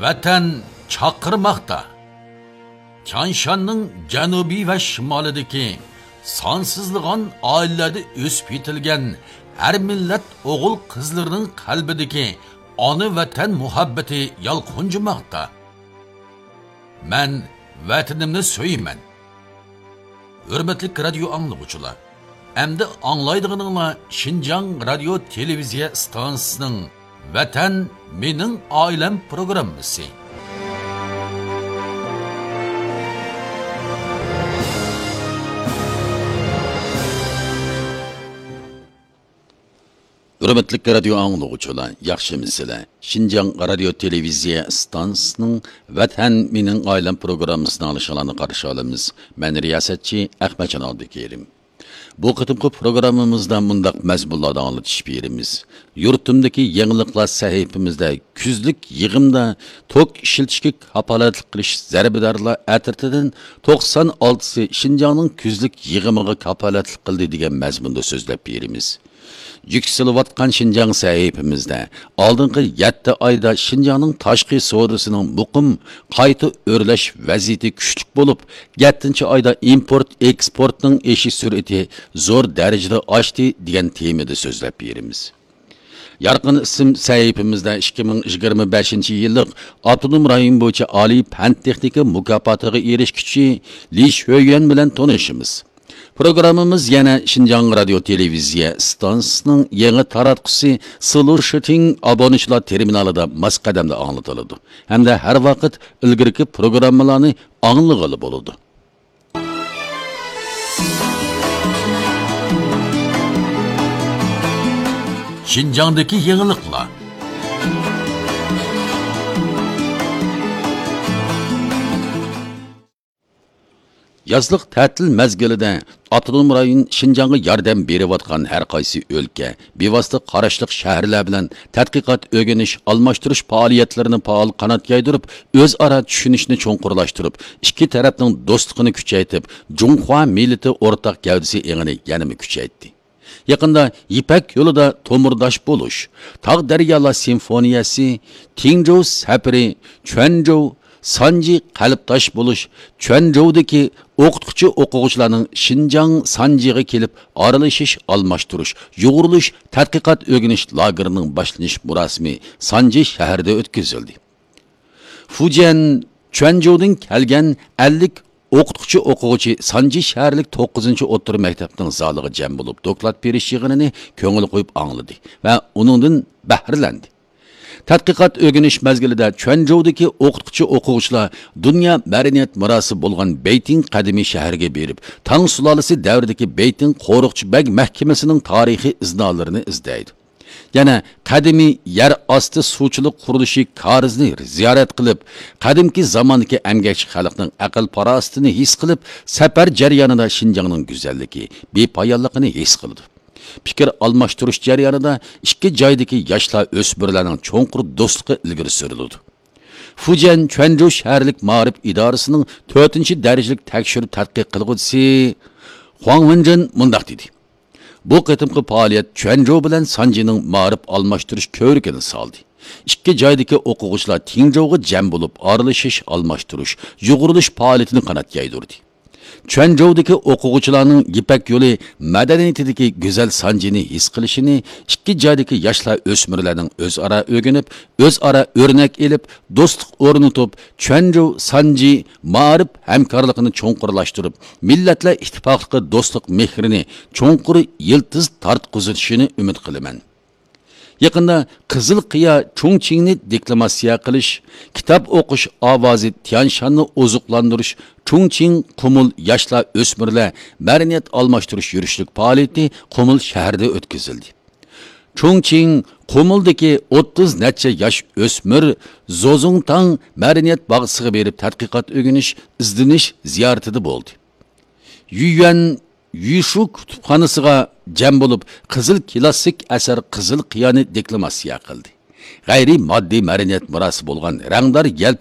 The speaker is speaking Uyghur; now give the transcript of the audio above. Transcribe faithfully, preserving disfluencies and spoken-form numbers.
ۋەتەن چاقىرماقتا. تيانشاننىڭ جەنۇبى ۋە شىمالىدىكى سانسىزلىغان ئائىلىلەردە ئۆسۈپ يېتىلگەن ھەر مىللەت ئوغۇل-قىزلىرىنىڭ قەلبىدىكى ئانا ۋەتەن مۇھەببىتى يالقۇنجىماقتا. مەن ۋەتىنىمنى سۆيىمەن. ھۆرمەتلىك رادىيو ئاڭلىغۇچىلار، ئەمدى ئاڭلايدىغىنىڭلار شىنجاڭ رادىيو تېلېۋىزىيە ئىستانسىسىنىڭ ۋەتەن مېنىڭ ئائىلەم پروگراممىسى. ھۆرمەتلىك رادىيو ئاڭلىغۇچىلار، ياخشىمۇسىلەر؟ شىنجاڭ رادىيو تېلېۋىزىيە ئىستانسىسىنىڭ ۋەتەن مېنىڭ ئائىلەم پروگراممىسىنى ئاڭلىشىڭلارنى قارشى ئالىمىز. مەن رىياسەتچى ئەخمەتجان ئابدۇكېرىم. بۇ قېتىمقى پروگراممىمىزدا مۇنداق مەزمۇنلاردا ئاڭلىتىش بېرىمىز. يۇرتۇمدىكى يېڭىلىقلار سەھىپىمىزدە كۈزلۈك يىغىمدا توك ئىشلىتىشكە كاپالەتلىك قىلىش زەربىدارلار ئەترىتىدىن توقسان ئالتىسى شىنجاڭنىڭ كۈزلۈك يىغىمىغا كاپالەتلىك قىلدى دېگەن مەزمۇندا سۆزلەپ بېرىمىز. يۈكسىلىۋاتقان شىنجاڭ سەھىپىمىزدە ئالدىنقى يەتتە ئايدا شىنجاڭنىڭ تاشقى سودىسىنىڭ مۇقىم قايتا ئۆرلەش ۋەزىيىتى كۈچلۈك بولۇپ، يەتتىنچى ئايدا ئىمپورت ئېكسپورتنىڭ ئېشىش سۈرئىتى زور دەرىجىدە ئاشتى دېگەن تېمىدا سۆزلەپ بېرىمىز. يارقىن ئىسىم سەھىپىمىزدە ئىككى مىڭ يىگىرمە بەشىنچى يىللىق ئاپتونوم رايون بويىچە ئالىي پەن تېخنىكا مۇكاپاتىغا ئېرىشكۈچى لى شۆيۈەن بىلەن تونۇشىمىز. پروگراممىمىز يەنە شىنجاڭ رادىيو تېلېۋىزىيە ئىستانسىسىنىڭ يېڭى تاراتقۇسى سلۇشىتىڭ ئابۇنىچىلار تېرمىنالىدا ماس قەدەمدە ئاڭلىتىلىدۇ ھەمدە ھەر ۋاقىت ئىلگىرىكى پروگراممىلارنى ئاڭلىغىلى بولىدۇ. شىنجاڭدىكى يېڭىلىقلار. يازلىق تەتىل مەزگىلىدە ئاپتونوم رايون شىنجاڭغا ياردەم بېرىۋاتقان ھەر قايسى ئۆلكە، بىۋاسىتە قاراشلىق شەھەرلەر بىلەن تەتقىقات، ئۆگىنىش، ئالماشتۇرۇش پائالىيەتلىرىنى پائال قانات يايدۇرۇپ، ئۆزئارا چۈشىنىشنى چوڭقۇرلاشتۇرۇپ، ئىككى تەرەپنىڭ دوستلۇقىنى كۈچەيتىپ، جۇڭخۇا مىللىتى ئورتاق گەۋدىسى ئېڭىنى يەنىمۇ كۈچەيتتى. يېقىندا يىپەك يولىدا تومۇرداش بولۇش، تاغ دەريالار سىمفونىيەسى، تىڭجوۋ سەپىرى، چۈەنجوۋ سانجى قەلبداش بولۇش، چۈەنجوۋدىكى ئوقۇتقۇچى ئوقۇغۇچىلارنىڭ شىنجاڭ سانجىغا كېلىپ ئارىلىشىش، ئالماشتۇرۇش، يۇغۇرۇلۇش، تەتقىقات ئۆگىنىش لاگېرىنىڭ باشلىنىش مۇراسىمى سانجى شەھىرىدە ئۆتكۈزۈلدى. فۇجيەن، چۈەنجوۋدىن كەلگەن ئەللىك ئوقۇتقۇچى ئوقۇغۇچى سانجى شەھەرلىك توققۇزىنچى ئوتتۇرا مەكتەپنىڭ زالىغا جەم بولۇپ، دوكلات بېرىش يىغىنىنى كۆڭۈل قويۇپ ئاڭلىدى ۋە ئۇنىڭدىن بەھرىلەندى. تەتقىقات ئۆگىنىش مەزگىلىدە چۈەنجوۋدىكى ئوقۇتقۇچى ئوقۇغۇچىلار دۇنيا مەدەنىيەت مىراسى بولغان بېيتىڭ قەدىمىي شەھىرىگە بېرىپ، تاڭ سۇلالىسى دەۋرىدىكى بېيتىڭ قورۇقچى بەگ مەھكىمىسىنىڭ تارىخىي ئىزنالىرىنى ئىزدەيدۇ. يەنە قەدىمىي يەر ئاستى سۇچىلىق قۇرۇلۇشى كارىزىنى زىيارەت قىلىپ، قەدىمكى زاماندىكى ئەمگەكچى خەلقنىڭ ئەقىل-پاراسىتىنى ھېس قىلىپ، سەپەر جەريانىدا شىنجاڭنىڭ گۈزەللىكى، بىپايانلىقىنى ھېس قىلىدۇ. پىكىر ئالماشتۇرۇش جەريانىدا ئىككى جايدىكى ياشلار، ئۆسمۈرلەرنىڭ چوڭقۇر دوستلۇقى ئىلگىرى سۈرۈلىدۇ. فۇجيەن چۈەنجۇ شەھەرلىك مائارىپ ئىدارىسىنىڭ تۆتىنچى دەرىجىلىك تەكشۈرۈپ تەتقىق قىلغۇچىسى خۇاڭ ۋېنجېن مۇنداق دېدى: بۇ قېتىمقى پائالىيەت چۈەنجۇ بىلەن سانجىنىڭ مائارىپ ئالماشتۇرۇش كۆۋرۈكىنى سالدى. ئىككى جايدىكى ئوقۇغۇچىلار تىڭجۇغا جەم بولۇپ، ئارىلىشىش، ئالماشتۇرۇش، يۇغۇرۇلۇش پائالىيىتىنى قانات يايدۇردى. چۈەنجۇدىكى ئوقۇغۇچىلارنىڭ يىپەك يولى مەدەنىيىتىدىكى گۈزەل سانجىنى ھېس قىلىشىنى، ئىككى جايدىكى ياشلار، ئۆسمۈرلەرنىڭ ئۆزئارا ئۆگىنىپ، ئۆزئارا ئۆرنەك ئېلىپ، دوستلۇق ئورنىتىپ، چۈەنجۇ سانجى مائارىپ ھەمكارلىقىنى چوڭقۇرلاشتۇرۇپ، مىللەتلەر ئىتتىپاقلىقى دوستلۇق مېھرىنى چوڭقۇر يىلتىز تارتقۇزۇشىنى ئۈمىد قىلىمەن. يېقىندا قىزىل قىيا چۇڭچىڭنى دېكلاماتسىيە قىلىش، كىتاب ئوقۇش ئاۋازى تيانشاننى ئوزۇقلاندۇرۇش، چۇڭچىڭ قۇمۇل ياشلار ئۆسمۈرلەر مەدەنىيەت ئالماشتۇرۇش يۈرۈشلۈك پائالىيىتى قۇمۇل شەھىرىدە ئۆتكۈزۈلدى. چۇڭچىڭ قۇمۇلدىكى ئوتتۇز نەچچە ياش ئۆسمۈر زوزۇڭتاڭ مەدەنىيەت باغچىسىغا بېرىپ تەتقىقات ئۆگىنىش، ئىزدىنىش زىيارىتىدە بولدى. يۈيۈەن يۈشۈ كۇتۇپخانىسىغا جەم بولۇپ، قىزىل كىلاسسىك ئەسەر قىزىل قىيانى دېكلاماتسىيە قىلدى. غەيرىي ماددىي مەدەنىيەت مىراسى بولغان رەڭدار يەلپۈك